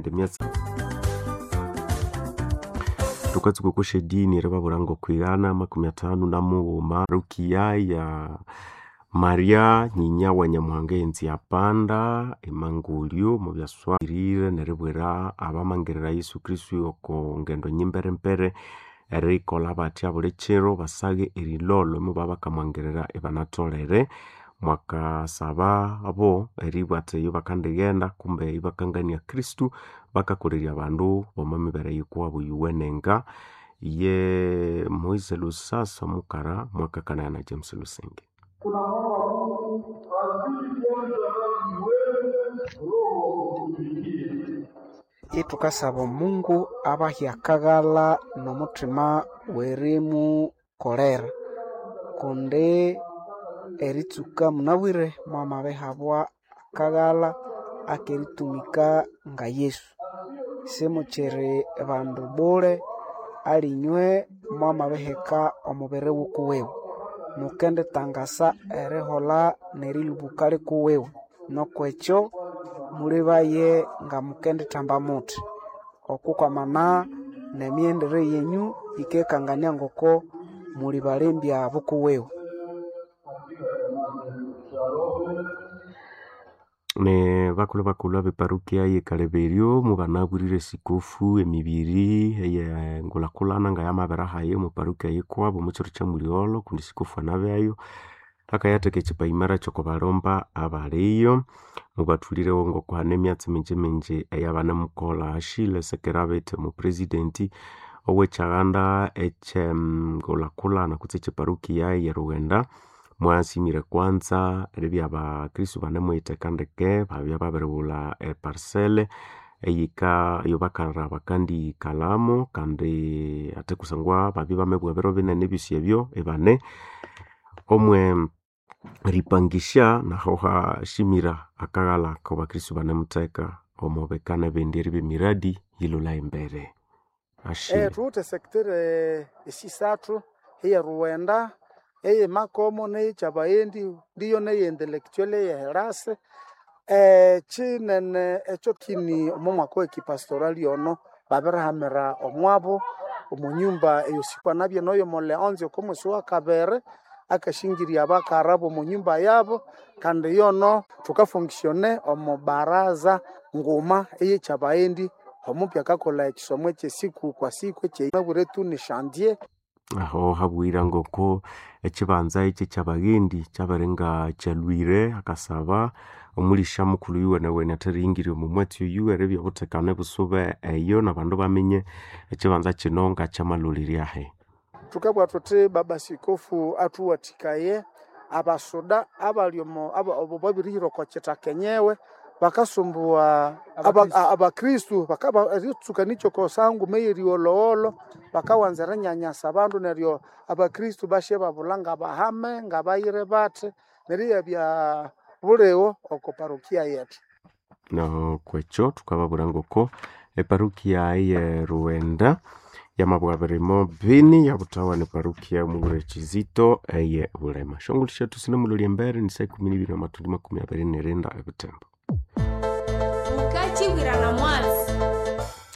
eyindi myatsi. Thukatsuka okwa syadini eribabwira ngokwighana 53 Rukiya ya Maria nyinya wa Nyamuhanga eyenzi yapanda emangulyo mubyaswahilire neribwira abamangirira Yesu Kristo oko ngendo nyimberembere erikolha bathya buli kiro basaghe erilholho mubabya bakamwangirira ibanatholere. Mwakasaba abo eribugha athi eyo bakandighenda kumbe ibakangania Kristo bakakolerya abandu b'omo mibere yikuwabo yuwenenga. Ye Moise Lusasa mukara mwakakanaya na James Lusenge. Tunamwomba Mungu azidi kuanza nasi wewe roho wa kutumikia. Ithukasaba Omungu abahe akaghalha n'omuthima w'erimukolera kundi eritsuka munabwire mwamabihabwa akaghalha akeritumika nga Yesu. Simukyiri bandu bule alinywe mwamabiheka omubiri wukuwiwe. Mukenditangasa eriholha n'erilubuka likuwiwe. Nukwekyo mulebaye nga mukendithamba muthi okukwamana n'emighendere yenyu yikekangania ngoko muli balembya bukuwiwe. Ne bakulhu bakulhu abeparukia ye Kaleberyo mubanabwirire esikofu emibiri eyengulhakulhana ngayamabirihayo omo parukia yikwabo omo kiro kya muligholho kundi sikofu anabyayo akayatheka ekipaimara kyokubalhomba abaliyo. Mubathulirewo ngoko hane emyatsi mingi mingi eyabanemukolha. Ashile Sekerabete omupresident owekyaghanda ekyengulhakulhana kutse ekyeparukia ye Rughenda mwasimire kwanza eribya abakristo banemuyitheka ndeke babya babirighulha eparcel eyika eyabakalha bakandikalhamu kandi ate kusangwa babya bamabugha ebiro binene ebyosi ebyo ibane omwe ripangisha naho hashimira akaghalha akabakristo banemutheka omo bika nebindi eribya emiradi yilhulha embere. Ashile. Thuwithe sector esisathu eye Rughenda, eye Makomo, neye Kyabaghendi, ndiyo neye intellectual eye Herasi. Kyinene ekyo kini omo mwaka owekipastorali ono babirihamira omwabo omo nyumba eyosikwa nabye noyo Muleonzi oko mwesi wakabiri akashingirya abakara bomo nyumba yabo kandi yono thukafunctione omo baraza nguma eye Kyabaghendi omupya akakolha ekisomo ekyesiku kwa siku ekyabwire tu ni chantier. Aho habwira ngoko ekibanza ekyo ekyabaghendi kyabiringa kyalhwire akasaba omulisha mukulhu yuwenewene atheriyingirya omo mwatsi oyu eribya obuthekane busube eyo nabandu baminye ekibanza kino ngakyamalholiryahi. Thukabugha thuthi baba sikofu athuwathikaye abasuda abali omo abo babirihira oko kithaka enyewe bakasumbuwa abakristu eritsuka nikyo kosanguma eyerigholhogholho bakawanza erinyanyasa abandu neryo abakristu basyababulha ngabahame ngabayire bathi neryo iyabya buligho oko parokia yethu. Nokwekyo thukababwira ngoko eparukia eye Rughenda yamabugha birimo bini yabuthawa neparukia omubwire Kizito eye Bulema. Syongulhu syethu sinemulholya embere ni saa 12 namathundu 24 ebuthembo. Mukakyibwirana mwatsi.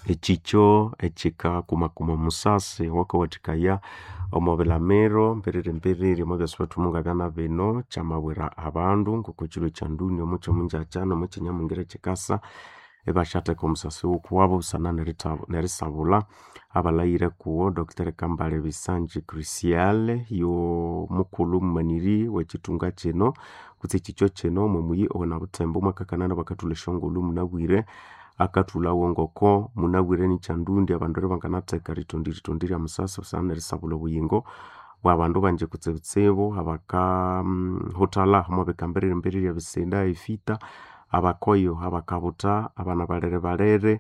Ekikyo ekikakumakuma omusasi owakawathikaya omo bilamiro mbiriri omo byasi bethu mungabya bino kyamabwira abandu ngoko ekiro ekyanduni omo kyomungyakya nomo kyinyamungira kyikasa ibasyatheka omusasi wukuwabo busana nerisabulha abalhayire kuwo Dr. Kambale Bisanji Crucial yo mukulhu mumaniri wekithunga kino kutse ekikyo kino omo muyi owenabuthembo mwakakanana bakathulha esyongulhu munabwire akathulhawo ngoko munabwire nikyandundi abandu eribanganatheka erithondiritondi rya musasi busana nerisabulha obuyingo bwabandu bangi kutsibutsibu abakahuthalha omo bika mbiriri ebisinda efita abakoyo abakabutha abana balere balere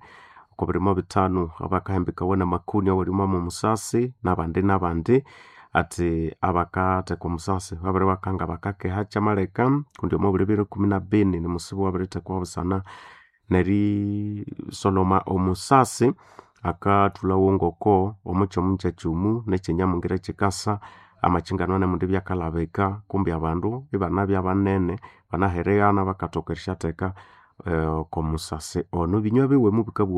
oko birimo bithanu abakahembikawa namakoni awalimo omusasi nabandi nabandi athi abakatheka omusasi babiri bakanga bakakeha kyamaleka kundi omo buli biro 12 nimusibu wabirithekwa busana nerisoloma omusasi akathulhawo ngoko omo kyomungyakyomu nekyenyamungira kyikasa amakyingano anemundi byakalhabika kumbi abandu ibanabya banene banahereghana bakathoka erisyatheka oko musasi ono ebinywa biwe mubikabugha.